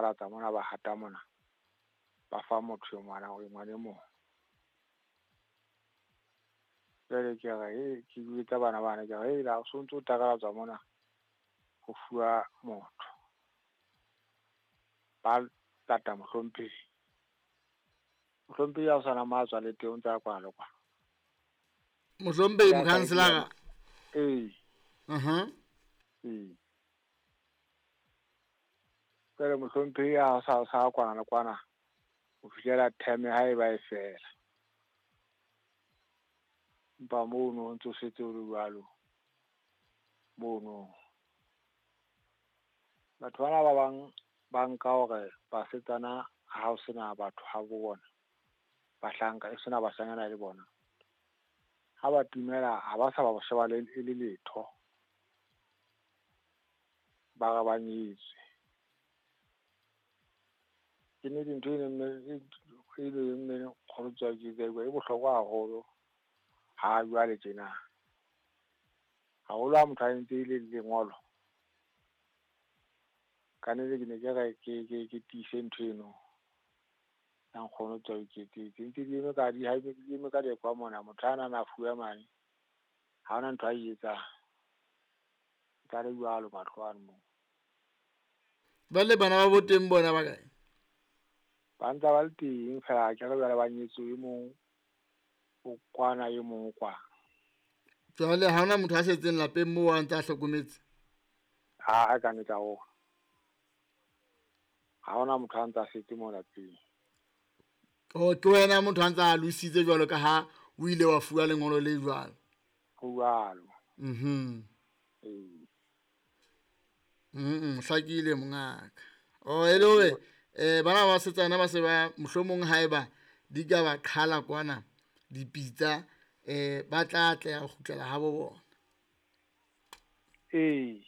takalatsa mona ba hata mona. Ba fa motho yo ngwana o ngwane mo. Jwale ke re ke jwetsa bana bana ke re la o sontso o takalatsa mona ho fuwa motho. Ba tata mohlomphehi. Mohlomphehi ha o sana matswa le teng o ntsa kwa le kwa. Mohlomphehi mokhanselara. Ee. Ee. Jwale mohlomphehi ha o sa kwana le kwana ho fihlela term ha e ba e fela. Empa mono o ntso setse o le jwalo. Mono. Batho bana ba bang ba nka hore basetsana ha o sena batho ha bo bona. Bahlanka e sena bashanyana le bona. Ha ba timela ha ba sa ba sheba le le letho. Ba re ba nyetswe. Ke ne dintho e nne kgolo ke e bohlokwa haholo ha jwale tjena. Haholo ha motho a entse le lengolo. Ka nnete ke ne ke re ke tiise ntho eno. Ya nkgono tswa iketsetse. Ntse di eme ka di ha di eme ka lekwa mona motho ana na fuwe mane. Ha hona ntho a e etsang. Tla le jwalo matlo ano moo. Ba le bana ba bo teng bona ba kae? Ba ntse ba le teng fela ke re jwale ba nyetswe e mong o kwana e mong o kwana. Jwale ha hona motho a setseng lapeng moo a ntse a hlokometse? Ha ka nnete ha hona. Ha hona motho a ntse a setse moo lapeng. Oh, ke wena motho a ntse a lositse jwalo ka ha o ile wa fuwa lengolo le jwalo. Ho jwalo. Ee. Hlakile mongaka. Oh, e le hore bana ba basetsana ba se ba mohlomong haeba di ka ba qhala kwana dipitsa ba tla tla ho kgutlela ha bo bona. Ee.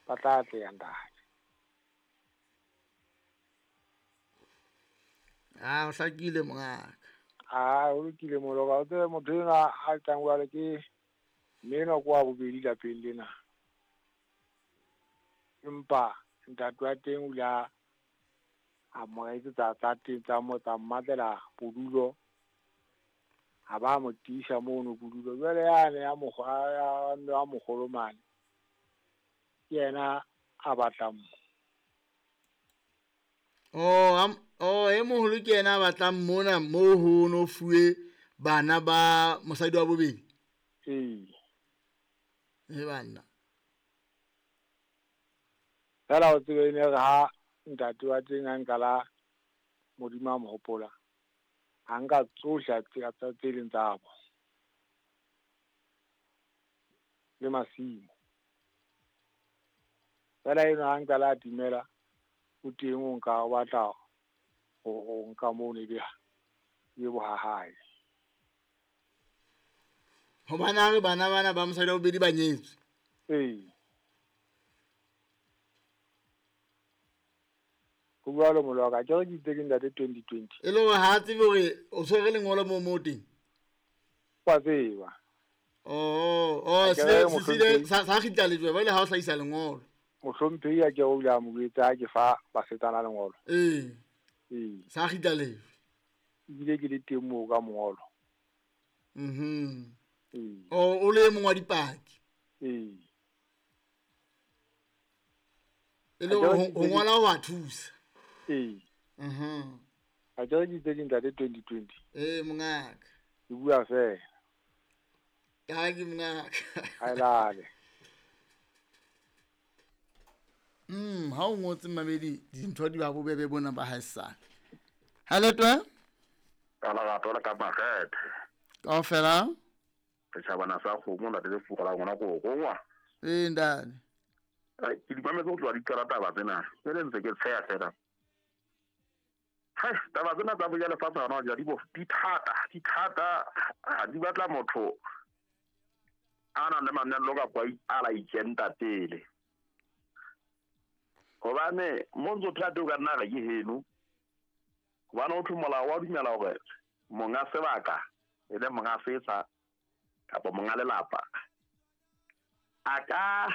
Ba tla tla ntate. Ah, o hlakile mongaka. Ah, o lokile moloka. O tsebe motho enwa a tlang jwale ke mme enwa ke wa bobedi lapeng lena. Empa ntate wa teng o ile a mo etsetsa tsa teng tsa mo tsa mmatlela bodulo. Ha ba mo tiisa mono bodulo. Jwale yane ya ya moholo mane. Ke yena a batlang mo. Oh, e moholo ke yena a batlang mona mo ho no fuwe bana ba mosadi wa bobedi. Ee. E banna. Fela o tsebe ne re ha ntate wa teng a nka la Modimo a mo hopola. A nka tsohle tsa tse leng tsa bo. Le masimo. Fela eno ha nka la timela o teng o nka o batla ho nka moo ne be bo ha hae. Hobane ha re bana bana ba mosadi wa bobedi ba nyetswe. Ee. Ho jwalo moloka ke re ke itse ke ntate 2020. E le hore ha tsebe hore o tshwere lengolo moo teng. Wa tseba. Oh, se sa kgitla lejwe ba ile ha o hlahisa lengolo. Mohlomphehi a ke o ile a mo jwetsa ke fa basetsana lengolo. Ee. Ee. Sa kgitla lejwe. Ebile ke le teng moo ka mongolo. Ee. Oh, o le mong wa dipaki. Ee. E le ho ngola ho a thusa. Ee. A ke re ke itse ke ntate 2020. Ee mongaka. Ke bua fela. Ka ke mongaka. Ha lale. Ha o ngotse mamedi dintho di ba bobebe bona ba haesale. Ha letwe? Ka la gato la ka makgethe. Kaofela? Setjhabana sa kgomo ntate le fuga la ngwana go gongwa. Ee ndane. Ai ke di mametse go tloha di qala taba tsena. Ke le ntse ke tsheya fela. Hai taba tsena tsa boja lefatshe hona ja di bo di thata ha di batla motho a nang le mamello ka kwa a la ikenta pele. Hobane mo ntso phela teng o ka nna re ke heno. Hobane ho thwe molao wa dumela hore monga sebaka e le monga setsha kapa monga lelapa a ka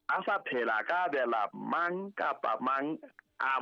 a sa phela a ka abela mang kapa mang a